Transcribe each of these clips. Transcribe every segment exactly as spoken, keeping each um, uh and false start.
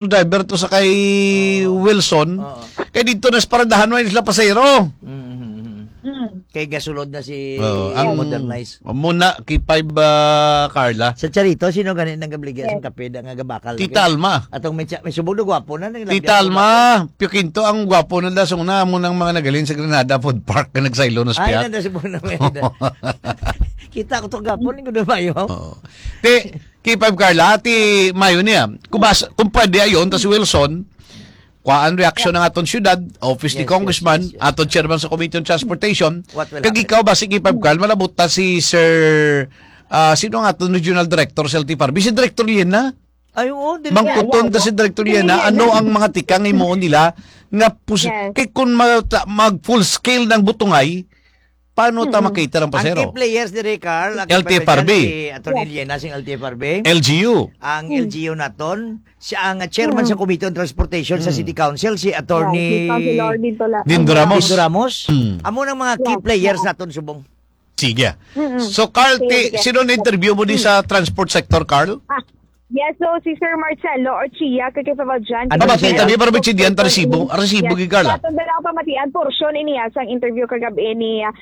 driver to sa kay Oo. Wilson. Oo. Kay dito na sa paradahan, wala sila pasahero. Mm, mm, mm. Mm. Kay gasulod na si Oo, ang Modernize. Muna, K five, ah, Carla. Sa Charito, sino gani nang gabligya Yes. sang kape da nga gabakal Tita lagi? Alma. Atong may tsa-, may subog na gwapo na, nang Tita lagyan ko Alma, na. Pio Quinto, ang gwapo na da, so na, amo nang mga nagalin sa Granada Food Park nga nagsaylo na sa Ay, piyak. Nanda subog na may da. Kita ko to gwapo, ni Gudo Mayo. Oo. Ti, K five Carla, ati mayo niya. Kung bas-, kung pwede ayon, tas si Wilson, kuhaan reaksyon ang aton syudad, office ni Yes, yes, Congressman, yes, yes. aton chairman sa Committee on Transportation, What will kag happen? Ikaw ba si K five Carla, malabot ta si Sir, ah, sino ang aton regional director sa L T F R B? Si Director Liena? Ay, oo, dili Mangkuton Yeah, ta yeah. si Director Liena, Liena. Ano ang mga tikang himuon nila nga pus-, Yes. kay kung ma-, ta-, mag full scale ng butungay, paano ta Mm-mm. makater ang Ang pasero? Key players diri, Carl, ang L T F R B. President si Attorney Yes. Liena sing L T F R B. L G U. Ang Mm. L G U naton, siya ang chairman Mm. sa Committee on Transportation sa Mm. City Council, si Attorney Yeah, si Councilor Dito La-, Dindo Ramos. Dindo Ramos. Mm. Amo nang mga key Yes, players oo. naton subong. Sige. Mm-mm. So, Carl, Sige, ti-, sige. sino na interview mo di Mm. sa transport sector, Carl? Ah, Yes, so si Sir Marcelo Orchia, kay Kay Valjean, Ano Pamati, siya? Tabi, para bitsin diyan, ta resibo. Resibo, Yes. gid, Carla. Sa atong dala ko pamatian, portion ini, ah, sang interview kagabi ni, ah,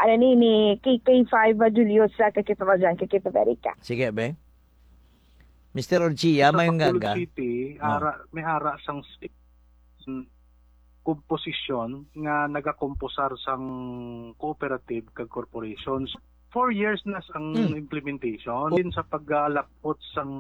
ano ni, ni K K five, ah, Julius, ah, kay Kay Valjean, kay Kay Federica. Sige, be. Mister Orchia, Sa may Bacolod gaga. City, Oh. ara, may ara sang state. komposisyon nga nagakomposar sang cooperative kag corporations. Four years na ang Hmm. implementation. Din sa paglalapot sang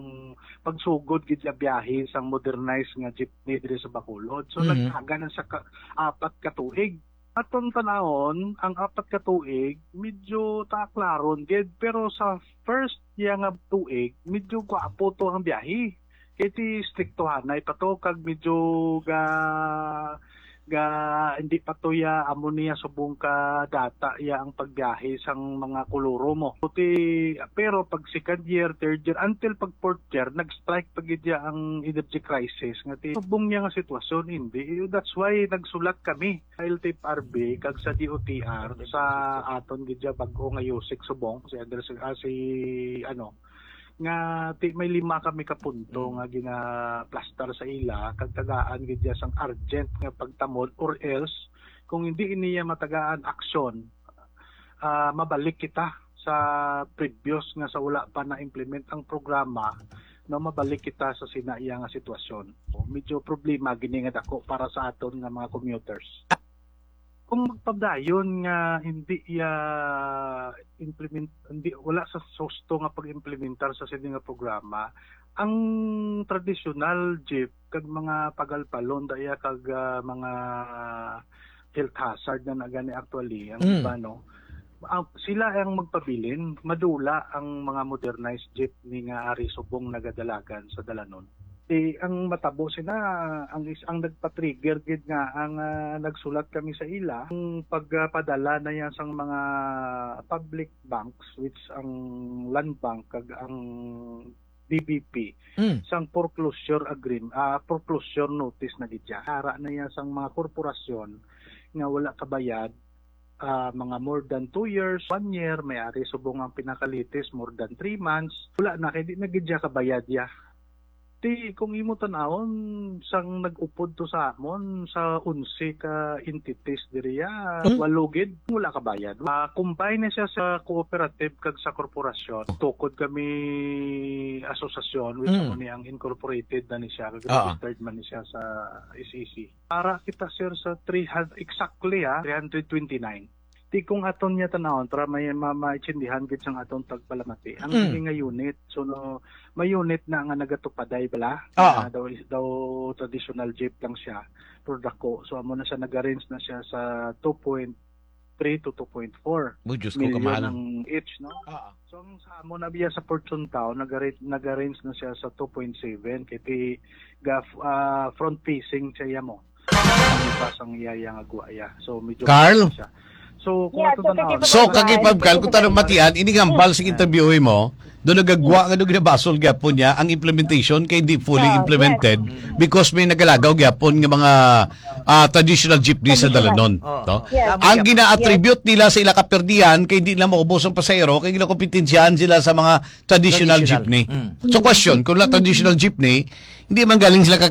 pagsugod gid sa biyahe sang modernized nga jeepney diri sa Bacolod. So, Mhm. nagtaga na sa ka-, apat ka tuig. Aton tanawon, ang apat ka tuig, medyo taaklaron gid. Pero sa first iya nga tuig, medyo gwapo to ang biyahe. Kay ti striktohanay pa to, kag medyo ga, ga, hindi pa to ya, amo niya subong ka data ya ang pagbiyahe sang mga koloro mo. Ti, pero pag second year, third year, until pag fourth year, nag-strike pa gid ya ang energy crisis. Nga ti, subong niya nga sitwasyon, hindi. That's why nagsulat kami sa L T F R B kag sa D O T R, sa aton gid ya bag-o nga yusik subong, si Andres, ah, si, ano, nga ti-, may lima kami ka punto Mm. nga ginaplastar sa ila, kag tagaan gid ya sang urgent nga pagtamod, or else, kung hindi niya matagaan aksyon, ah, mabalik kita sa previous nga sa wala pa na-implement ang programa, no, mabalik kita sa sina iya nga sitwasyon. Medyo problema gini nga dako para sa aton nga mga commuters. Kung magpadayon nga hindi iya implement, hindi, wala sa susto nga pag-implementar sa sini nga programa, ang traditional jeep kag mga pagalpalon daya kag, ah, mga health hazard na na gani actually ang Mm. iba, no? Ang, sila ang magpabilin, madula ang mga modernized jeepney nga ari subong nagadalagan sa dalanon. Ti, ang matabo sina, ang is-, ang nagpa-trigger gid nga ang, ah, nagsulat kami sa ila, ang pagpadala na yan sang mga public banks, which ang Land Bank kag ang D B P, Mm. sang foreclosure agreement, ah, foreclosure notice na gid siya. Ara na yan sang mga korporasyon nga wala kabayad, ah, mga more than two years, one year, may ari subong ang pinakalitis, more than three months. Wala na, kay di na gid siya kabayad ya. Ti, kung imo tan-awon, sang nag-upod to sa amon, sa onse ka entities diri ya, Mm. walo gid, wala kabayad. Ah, combine na siya sa cooperative kag sa korporasyon. Tukod kami asosasyon, with Mm. amo ni ang incorporated na ni siya, kag Ah. registered man ni siya sa S E C. Para kita, sir, sa three hundred, exactly, ah, three hundred twenty-nine. Ti kung aton niya tan-awon, para may ma-, maintindihan gid sang aton tagpalamati. Ang Mm. ini nga unit, so, no, may unit na nga nagatupaday bala, Ah. na daw, daw traditional jeep lang siya, pero dako. So, amo na siya, nag-arrange na siya sa two point three to two point four Uy, Diyos ko, million kamahal. ang each, no? Ah. So, ang sa amo na biya sa Fortune Town, nag-arrange, nag-arrange na siya sa two point seven, kay ti ga-, ah, front facing siya mo. Ang iba sang iya, iya nga gwa, iya. So, medyo Carl? siya. So, kung Yeah, ato so, tanaw-, kay So, Pablo, kag Ipab, Carl, kung tanong matian, ini nga hambal sa Mm. interview mo, do nagagwa nga do ginabasol gyapon niya ang implementation kay hindi fully Oh, implemented yes. because may nagalagaw gyapon nga mga, ah, traditional jeepney sa Traditional. Dalanon, Oh. no? Yes. Tama Ang gyapon. gina-attribute nila sa ila kaperdihan kay hindi nila maubos ang pasahero kay ginakompetensyahan sila sa mga traditional Traditional. jeepney. Mm. So, question, kung wala traditional jeepney, Hindi man galing sila ka